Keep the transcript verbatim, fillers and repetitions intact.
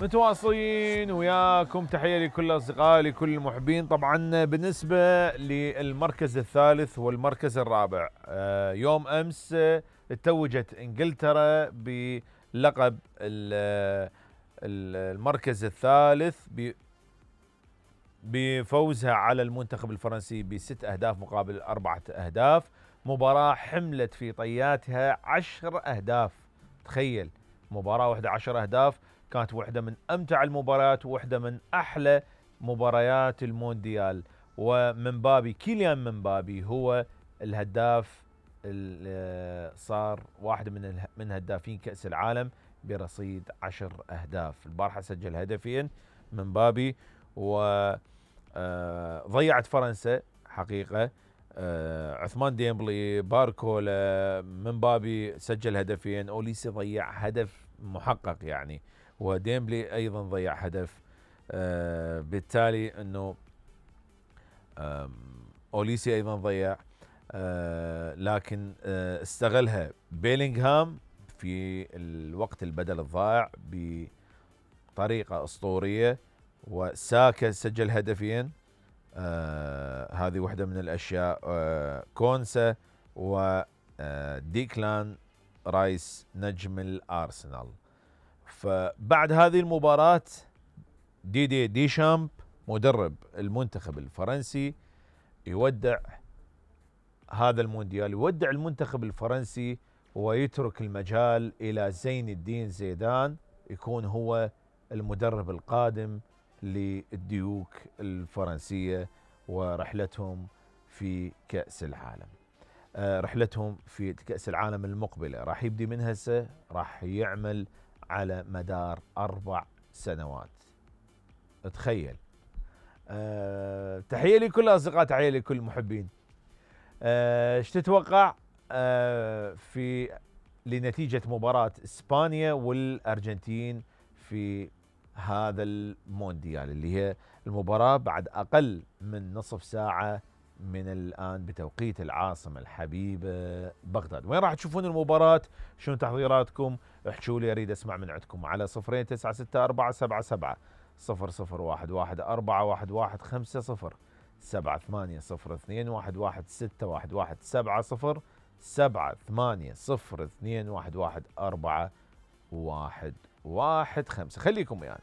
متواصلين وياكم، تحية لكل أصدقائي لكل المحبين. طبعا بالنسبة للمركز الثالث والمركز الرابع، يوم أمس اتوجت إنجلترا بلقب المركز الثالث بفوزها على المنتخب الفرنسي بست أهداف مقابل أربعة أهداف. مباراة حملت في طياتها عشر أهداف. تخيل مباراة واحدة عشر أهداف، كانت واحدة من أمتع المباريات وواحدة من أحلى مباريات المونديال. ومن بابي كيليان من بابي هو الهداف، صار واحد من من هدافين كأس العالم برصيد عشر أهداف. البارحة سجل هدفين من بابي، وضيعت فرنسا حقيقة. عثمان ديمبلي، باركولا، من بابي سجل هدفين، أوليسي ضيع هدف محقق يعني، وديمبلي أيضا ضيع هدف. آه بالتالي أنه أوليسي أيضا ضيع، آه لكن آه استغلها بيلينغهام في الوقت البدل الضائع بطريقة أسطورية، وساكا سجل هدفين. آه هذه واحدة من الأشياء. آه كونسا وديكلان رايس نجم الأرسنال. فبعد هذه المباراة ديدي ديشامب مدرب المنتخب الفرنسي يودع هذا المونديال، يودع المنتخب الفرنسي ويترك المجال إلى زين الدين زيدان يكون هو المدرب القادم للديوك الفرنسية ورحلتهم في كأس العالم. آه رحلتهم في كأس العالم المقبلة راح يبدي من هسه، راح يعمل على مدار أربع سنوات. تخيل. أه تحية لكل الأصدقاء، تحية لكل المحبين. ايش أه تتوقع أه في لنتيجة مباراة إسبانيا والأرجنتين في هذا المونديال، اللي هي المباراة بعد أقل من نصف ساعة من الآن بتوقيت العاصمة الحبيبة بغداد؟ وين راح تشوفون المباراة؟ شنو تحضيراتكم؟ احكوا لي، اريد اسمع من عندكم على صفرين تسعة ستة أربعة سبعة سبعة صفر صفر واحد واحد أربعة واحد واحد خمسة صفر سبعة ثمانية صفر اثنين واحد واحد ستة واحد واحد سبعة صفر سبعة ثمانية صفر اثنين واحد واحد أربعة واحد واحد خمسة. خليكم يعني.